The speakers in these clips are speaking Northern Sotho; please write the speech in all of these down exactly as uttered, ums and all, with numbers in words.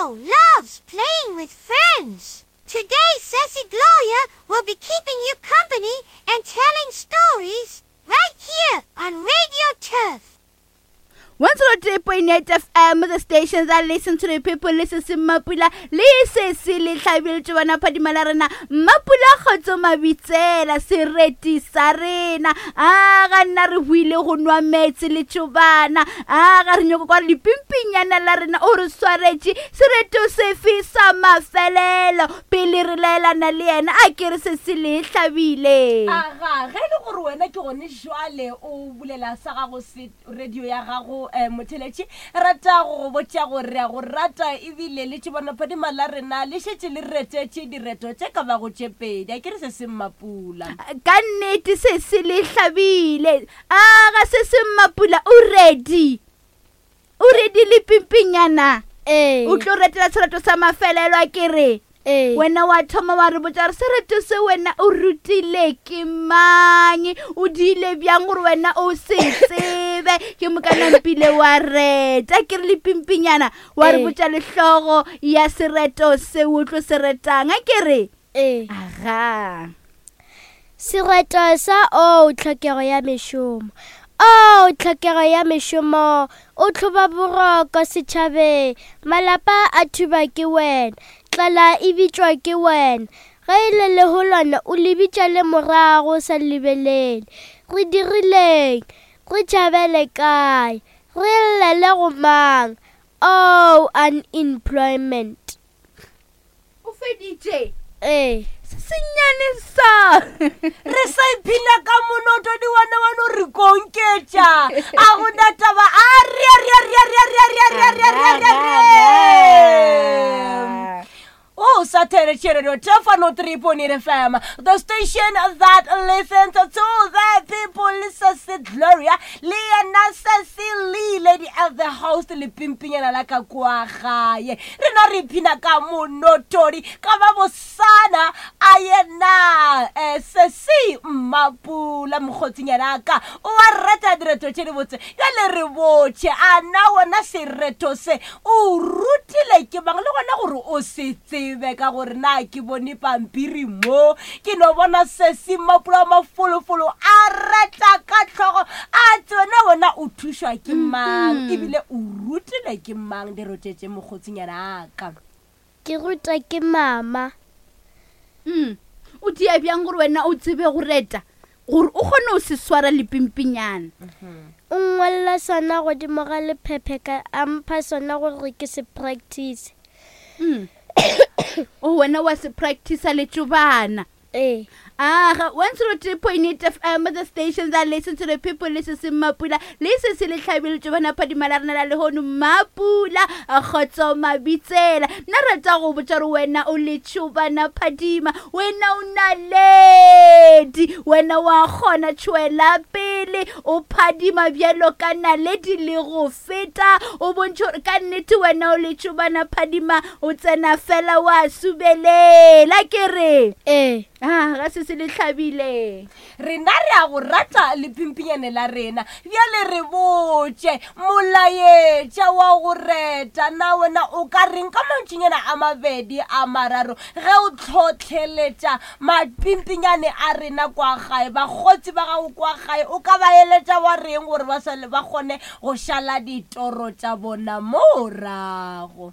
also loves playing with friends. Today, Sissy Gloria will be keeping you company and telling stories right here on Radio Turf. one zero three point eight F M, the station that listen to the people, listen to Mapula, le se le hlabile tšobana phadima la rena Mapula kgotso mabitsela sereti sa rena a ga nna re buile go nwa meetse le tšobana a ga re nyoko kwa lepimpinyana la rena o re swaretše sereto sefe sa mafelelo pele re laelana le yena a ke re se se le hlabile. Aga ge e le gore wena ke gone jwale o bulela sa gago se radio ya gago eh, motheletši rata go botša gore a go rata ebile le tšobana phadima la rena le šetše le retetše direto tše ka bago tše pedi a ke re se se Mmapula. Ka nnete se se le hlabile a ga se se Mmapula o ready o ready le pimpinyana Ee. o tlo retela sereto sa mafelelo a ke re Ee. wena wa thoma wa re botša gore sereto se wena o rutile ke mang o diile bjang gore wena o se tsebe ke mokana mpile wa reta ke re le pimpinyana wa re Ee. botša lehlogo ya sereto se o tlo se retang a ke re Ee. aga Sereto sa o tlhokego ya mešomo. O tlhokego ya mešomo, o tlhoba boroko setšhabeng, malapa a thuba ke wena, tlala e bitšwa ke wena. Ge e le leholwana o le bitša le morago sa lebelele. Re dirileng? Re tšhabele kae? Re llele go mang? Oh, unemployment. O feditše? Ee. Se sennyane sa. Re sa iphina ka monoto di wana wa no re konketša. A gona taba a re re re re re re re re re re re. Oh, Saturday Radio Tefano three point eight F M, the station that listens to the people. Sissy Gloria, le yena Sissy Lee, lady of the house, le pimpinyana la ka kwa gae. Re na re iphina ka monotori, ka ba bosana a yena eh, Sissy Mmapula mokgotsinyana ka. O a rata direto tše di botse. Bjale re botše, a na wena sereto se o rutile ke mang le gona gore o se tsebe ka gore na ke bone pampiri mo ke no bona Sissy Mmapula mafolofolo a reta ka tlhogo a tsena wena o thušwa ke mang ebile o rutile ke mang dirote tše mokgotsinyana ka. Ke rutwa ke mama. Mm. O dia bjang gore wena o tsebe go reta gore o kgone go se swara lepimpinyana? O ngwalla sona godimo ga lephephe ka a mpha sona gore ke se practice. Mm. O wena wa se practice le tšobana. Ee. Aga one zero three point eight F M, the station that listen to the people, listen to Mmapula, listen to le hlabile tšobana phadima la rena la lehono Mmapula kgotso mabitsela. Nna rata go botša gore wena o le tšobana phadima, wena o naledi, wena wa kgona tšwela pele o phadima bjalo ka naledi le go feta o bontšhe gore ka nnete wena o le tšobana phadima o tsena fela wa subelela ke re. Ee. Ah, ga se se le hlabile. Rena re a go rata lepimpinyane la rena. Bjale re botše molaetša wa go reta na wena o ka reng ka mantšinyana a mabedi a mararo ge o tlhotlheletša mapimpinyane a rena kwa gae, bakgotsi ba gago kwa gae, o ka ba eletša wa reng gore ba sale ba kgone go šala ditoro tša bona morago?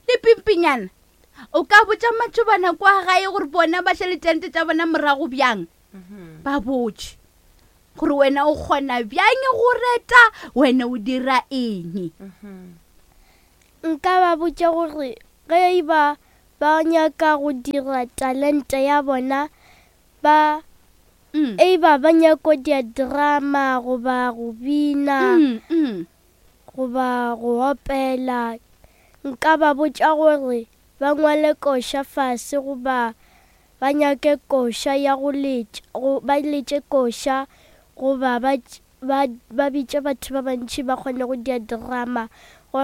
Lepimpinyana o ka botša matšobana kwa gae gore bona ba šale tente tša bona morago bjang? Ba botše gore wena o kgona bjang go reta, wena o dira eng? Nka ba botša gore ge e ba ba nyaka go dira talente ya bona, ba Mm. e ba ba nyaka dia drama goba go bina Mm, mm. goba go opela, nka ba botša gore ba ngwale koša fase goba ba nyake koša ya go letša, go ba letše koša goba ba ba ba bitše batho ba bantši ba kgone go dia drama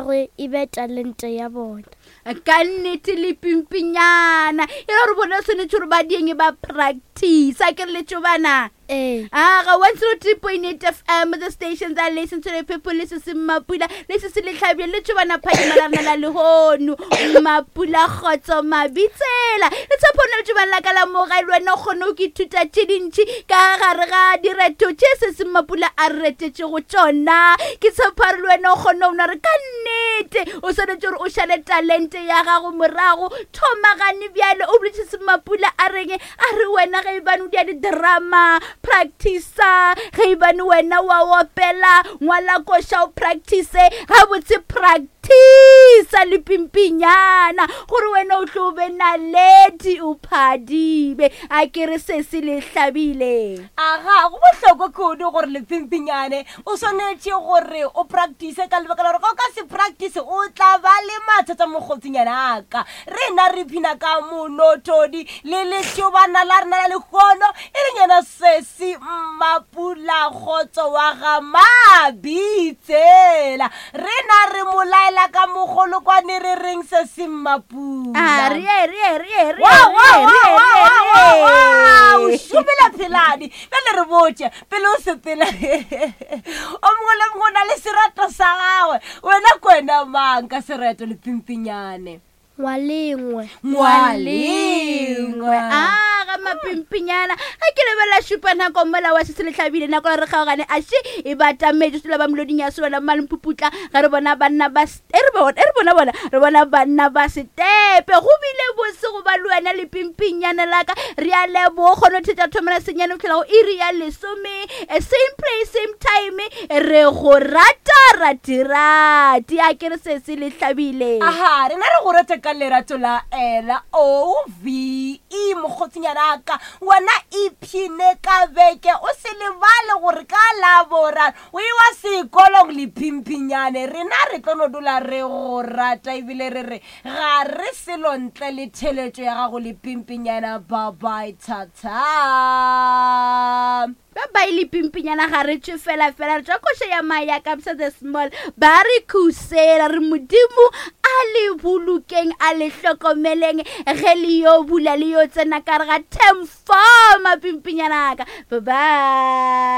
gore e be talente ya bona. Ka nnete le pimpinyana e le gore bona tshwanetse gore ba dieng ba practice a ke re letšobana. Ee. Aga one zero three point eight F M, the station that listen to the people, le se se Mapula, le se se Lehlabile, le tšobana phadima la rena la lehono. Mapula Kgotso Mabitsela. Le tshepo na le tšobana la ka la moga le wena o kgone go ithuta tše dintši ka gare ga direto tše se se Mapula a re retetšego tšona. Ke tshepa re le wena o kgone go bona gore ka nnete o swanetše gore o šale talente ya gago morago. Thomagane bjale o boletše se Mapula a reng, a re wena ge ebane o dia di-drama practice-a, ge ebane wena wa opela ngwala koša o practice gabotse, practice le pimpinyana gore wena o tlo be naledi o phadime. A ke re se se le hlabile. Aga go bohlokwa kudu gore le pimpinyane o swanetše gore o practice ka lebaka la gore ga o ka se practice o tla ba le mathata mokgotsinyana a ka. Rena re phina ka monothodi le letšobana la rena la lehono e leng yena Sesi Mmapula Kgotso wa ga Mabitsela. Rena re mo laela ka mogolokwane re reng Sesi Mmapula? A re ye, re ye, re ye, re ye, Wa, wa, re ye, wa, re ye, wa, re wa, ye. wa, wa, o šomela pheladi. Bjale re botše pele o sepela, o mongwe le mongwe o na le sereto sa gagwe. Wena ke wena mang ka sereto le pimpinyane? Ngwalengwe. Ngwalengwe. A ga mapimpinyana ge ke lebelela šupa nako mola wa se se lehlabile nako la re kgaogane a še e batametše sela ba meloding ya sewela mmalempuputla ge re bona banna ba s-, e re bona, e re bona bona, re bona banna ba setepe. Go bile bose go ba le wena le pimpinyana la ka. Re a leboga kgone go thetša thomela senyane go fihlela go iri ya lesome. Eh, same place same time, re go rata ratirati. A ke re se se le hlabile. Aha, rena re go rata ka lerato la L O V E mokgotsinyana ka. Wena iphine ka beke, o se lebale gore ka laboraro o iwa sekolong le phimpinyane. Rena re tlo no dula re go rata ebile re re ga re selo ntle le theletšo ya gago le phimpinyana. Bye bye, thata. Ba bye le pimpinyana ga re tšwe fela fela, re tšwa koša ya maya Kabza the Small. Ba re khusela re Modimo a le bolokeng a le hlokomeleng ge le yo bula le yo tsena ka re ga term four mapimpinyana ka. Bye bye.